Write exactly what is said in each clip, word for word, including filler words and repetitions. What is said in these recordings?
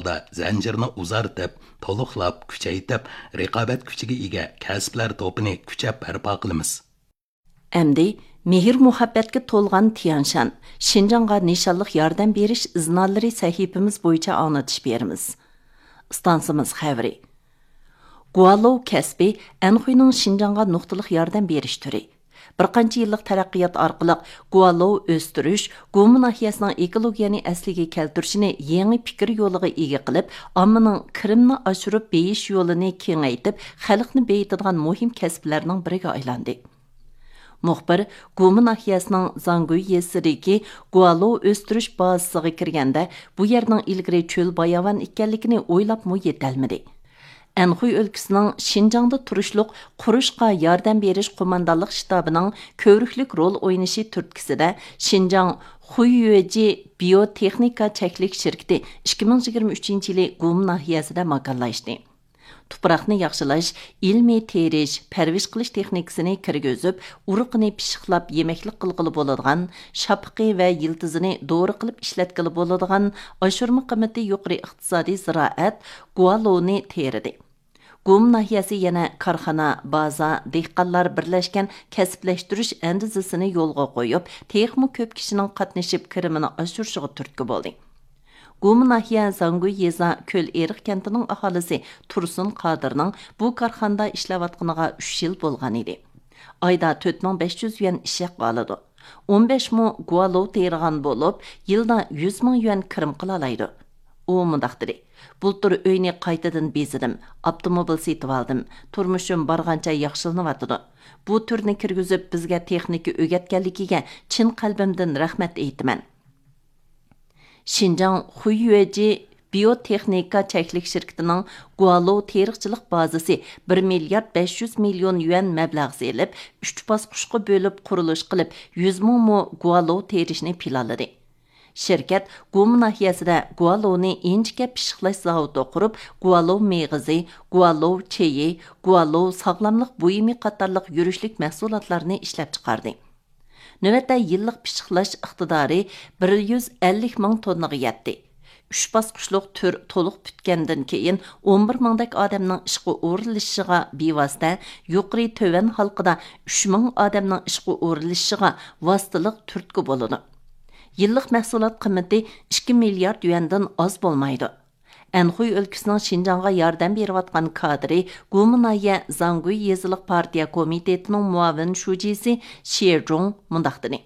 ۋاقىتتا زەنجىرنى ئۇزارتىپ، تولۇقلاپ، كۈچەيتىپ، رىقابەت كۈچىگە ئىگە كەسىپلەر توپىنى كۈچەپ بەرپا قىلىمىز. ئەمدى مېھىر-مۇھەببەتكە تولغان تيەنشان، شىنجاڭغا نىشانلىق ياردەم بېرىش ئىزنالىرى سەھىپىمىز بويىچە ئاڭلىتىش بېرىمىز. ئىستانسىمىز خەۋىرى. گۇالوۋ كەسپى ئەنخۇينىڭ شىنجاڭغا نۇقتىلىق ياردەم بېرىش تۈرى. بىر قانچە يىللىق تەرەققىيات ئارقىلىق گۇالوۋ ئۆستۈرۈش، گۇما ناھىيەسىنىڭ ئېكولوگىيەنى ئەسلىگە كەلتۈرۈشنى يېڭى پىكىر يولىغا ئىگە قىلىپ، ئاممىنىڭ كىرىمنى ئاشۇرۇپ بېيىش يولىنى كېڭەيتىپ، خەلقنى بېيىتىدىغان مۇھىم كەسىپلەرنىڭ بىرىگە ئايلاندى. مۇخبىر گۇما ناھىيەسىنىڭ زاڭگۇي يېزىسىدىكى گۇالوۋ ئۆستۈرۈش بازىسىغا كىرگەندە، بۇ يەرنىڭ ئىلگىرى چۆل باياۋان ئىكەنلىكىنى ئويلاپمۇ يېتەلمىدى. ئەنخۇي ئۆلكىسىنىڭ شىنجاڭدا تۇرۇشلۇق قۇرۇشقا ياردەم بېرىش قوماندانلىق شتابىنىڭ كۆۋرۈكلۈك رول ئوينىشى تۈرتكىسىدە، شىنجاڭ خۇييۆجى بىيوتېخنىكا چەكلىك شىركىتى ئىككى مىڭ يىگىرمە ئۈچىنچى يىلى گۇما ناھىيەسىدە ماكانلاشتى. تۇپراقنى ياخشىلاش، ئىلمىي تېرىش، پەرۋىش قىلىش تېخنىكىسىنى كىرگۈزۈپ، ئۇرۇقىنى پىششىقلاپ يېمەكلىك قىلغىلى بولىدىغان، شاپىقى ۋە يىلتىزىنى دورا قىلىپ ئىشلەتكىلى بولىدىغان، ئاشۇرما قىممىتى يۇقىرى ئىقتىسادىي زىرائەت گۇالوۋنى تېرىدى. گۇما ناھىيەسى يەنە كارخانا، بازا، دېھقانلار بىرلەشكەن كەسىپلەشتۈرۈش ئەندىزىسىنى يولغا قويۇپ، تېخىمۇ كۆپ كىشىنىڭ قاتنىشىپ كىرىمىنى ئاشۇرۇشىغا تۈرتكە بولدى. گۇما ناھىيە زاڭگۇي يېزا كۆل ئېرىق كەنتىنىڭ ئاھالىسى تۇرسۇن قادىرنىڭ بۇ كارخانىدا ئىشلەۋاتقىنىغا ئۈچ يىل بولغان ئىدى. ئايدا تۆت مىڭ بەش يۈز يۈەن ئىش ھەققى ئالىدۇ. ئون بەش مو گۇالوۋ تېرىغان بولۇپ، يىلدا يۈز مىڭ يۈەن كىرىم قىلالايدۇ. ئۇ مۇنداق دېدى: بۇلتۇر ئۆينى قايتىدىن بېزىدىم، ئاپتوموبىل سېتىۋالدىم، تۇرمۇشۇم بارغانچە ياخشىلىنىۋاتىدۇ. بۇ تۈرنى كىرگۈزۈپ بىزگە تېخنىكا ئۆگەتكەنلىكىگە چىن قەلبىمدىن رەھمەت ئېيتىمەن. شىنجاڭ خۇييۆجى بىيوتېخنىكا چەكلىك شىركىتىنىڭ گۇالوۋ تېرىقچىلىق بازىسى بىر مىليارد بەش يۈز مىليون يۈەن مەبلەغ سېلىپ، ئۈچ باسقۇچقا بۆلۈپ قۇرۇلۇش قىلىپ، يۈز مىڭ مو گۇالوۋ تېرىشنى پىلانلىدى. شىركەت گۇما ناھىيەسىدە گۇالوۋنى ئىنچىكە پىششىقلاش زاۋۇتى قۇرۇپ، گۇالوۋ مېغىزى، گۇالوۋ چېيى، گۇالوۋ ساغلاملىق بۇيۇمى قاتارلىق يۈرۈشلۈك مەھسۇلاتلارنى ئىشلەپچىقاردى. نۆۋەتتە يىللىق پىششىقلاش ئىقتىدارى بىر يۈز ئەللىك مىڭ توننىغا يەتتى. ئۈچ باسقۇچلۇق تۈر تولۇق پۈتكەندىن كېيىن، ئون بىر مىڭدەك ئادەمنىڭ ئىشقا ئورۇنلىشىشىغا بىۋاسىتە، يۇقىرى تۆۋەن ھالقىدا ئۈچ مىڭ ئادەمنىڭ ئىشقا ئورۇنلىشىشىغا ۋاسىتىلىق تۈرتكە بولىدۇ. يىللىق مەھسۇلات قىممىتى ئىككى مىليارد يۈەندىن ئاز بولمايدۇ. ئەنخۇي ئۆلكىسىنىڭ شىنجاڭغا ياردەم بېرىۋاتقان كادىرى، گۇما ناھىيە زاڭگۇي يېزىلىق پارتىيە كومىتېتىنىڭ مۇئاۋىن شۇجىسى شيې جۇڭ مۇنداق دېدى: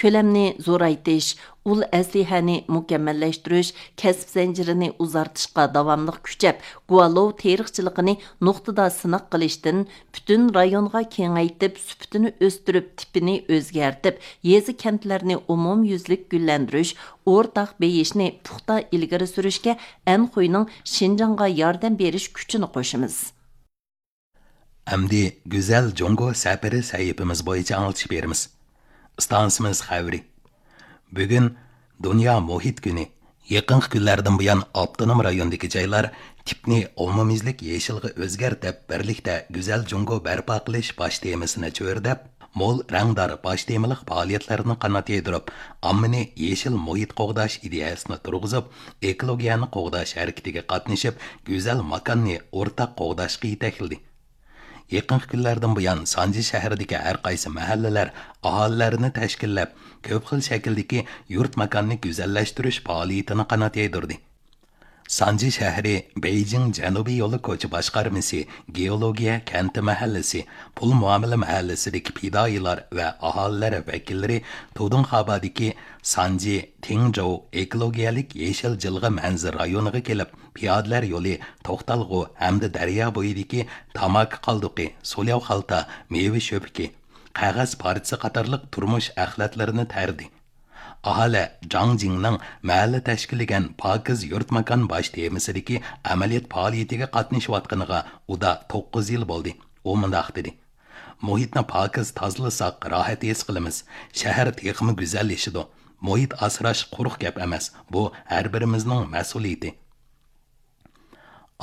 كۆلەمنى زورايتىش، ئۇل ئەسلىھەنى مۇكەممەللەشتۈرۈش، كەسىپ زەنجىرىنى ئۇزارتىشقا داۋاملىق كۈچەپ، گۇالوۋ تېرىقچىلىقىنى نۇقتىدا سىناق قىلىشتىن، پۈتۈن رايونغا كېڭەيتىپ، سۈپىتىنى ئۆستۈرۈپ، تىپىنى ئۆزگەرتىپ، يېزا، كەنتلەرنى ئومۇميۈزلۈك گۈللەندۈرۈش، ئورتاق بېيىشنى پۇختا ئىلگىرى سۈرۈشكە ئەنخۇينىڭ شىنجاڭغا ياردەم بېرىش كۈچىنى قوشىمىز. ئەمدى گۈزەل جۇڭگو سەپىرى سەھىپىمىز بويىچە ئاڭلىتىش بېرىمىز. ئىستانسىمىز خەۋىرى. بۈگۈن دۇنيا مۇھىت كۈنى. يېقىنقى كۈنلەردىن بۇيان ئاپتونوم رايوندىكى جايلار تىپنى ئومۇميۈزلۈك يېشىلغا ئۆزگەرتىپ، بىرلىكتە گۈزەل جۇڭگو بەرپا قىلىش باش تېمىسىنى چۆرىدەپ، مول رەڭدار باش تېمىلىق پائالىيەتلەرنى قانات يايدۇرۇپ، ئاممىنى يېشىل مۇھىت قوغداش ئىدىيەسىنى تۇرغۇزۇپ، ئېكولوگىيەنى قوغداش ھەرىكىتىگە قاتنىشىپ، گۈزەل ماكاننى ئورتاق قوغداشقا يېتەكلىدى. يېقىنقى كۈنلەردىن بۇيان سانجى شەھىرىدىكى ھەر قايسى مەھەللىلەر ئاھالىلەرنى تەشكىللەپ، كۆپ خىل شەكىلدىكى يۇرت ماكاننى گۈزەللەشتۈرۈش پائالىيىتىنى قانات يايدۇردى. سانجى شەھىرى بېيجىڭ جەنۇبىي يولى كوچا باشقارمىسى، گېئولوگىيە كەنتى مەھەللىسى، پۇل مۇئامىلە مەھەللىسىدىكى پىدائىيلار ۋە ئاھالىلەر ۋەكىللىرى تۇدۇڭخابادىكى سانجى تىڭجوۋ ئېكولوگىيەلىك يېشىل جىلغا مەنزىرە رايونىغا كېلىپ، پىيادىلەر يولى، توختالغۇ ھەمدە دەريا بويىدىكى تاماكا قالدۇقى، سولياۋ خالتا، مېۋە شۆپىكى، قەغەز پارچىسى قاتارلىق تۇرمۇش ئەخلەتلىرىنى تەردى. ئاھالە جاڭ جىڭنىڭ مەھەللە تەشكىللىگەن پاكىز يۇرت ماكان باش تېمىسىدىكى ئەمەلىيەت پائالىيىتىگە قاتنىشىۋاتقىنىغا ئۇدا توققۇز يىل بولدى. ئۇ مۇنداق دېدى: مۇھىتنى پاكىز تازىلىساق، راھەت ھېس قىلىمىز. شەھەر تېخىمۇ گۈزەللىشىدۇ. مۇھىت ئاسراش قۇرۇق گەپ ئەمەس، بۇ ھەر بىرىمىزنىڭ مەسئۇلىيىتى.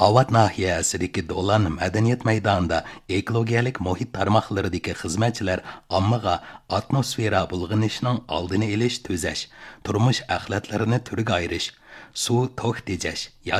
ئاۋات ناھىيەسىدىكى دولان مەدەنىيەت مەيدانىدا ئېكولوگىيەلىك مۇھىت تارماقلىرىدىكى خىزمەتچىلەر ئاممىغا ئاتموسفېرا بۇلغىنىشنىڭ ئالدىنى ئېلىش، تۈزەش، تۇرمۇش ئەخلەتلىرىنى تۈرگە ئايرىش، سۇ، توك تېجەش،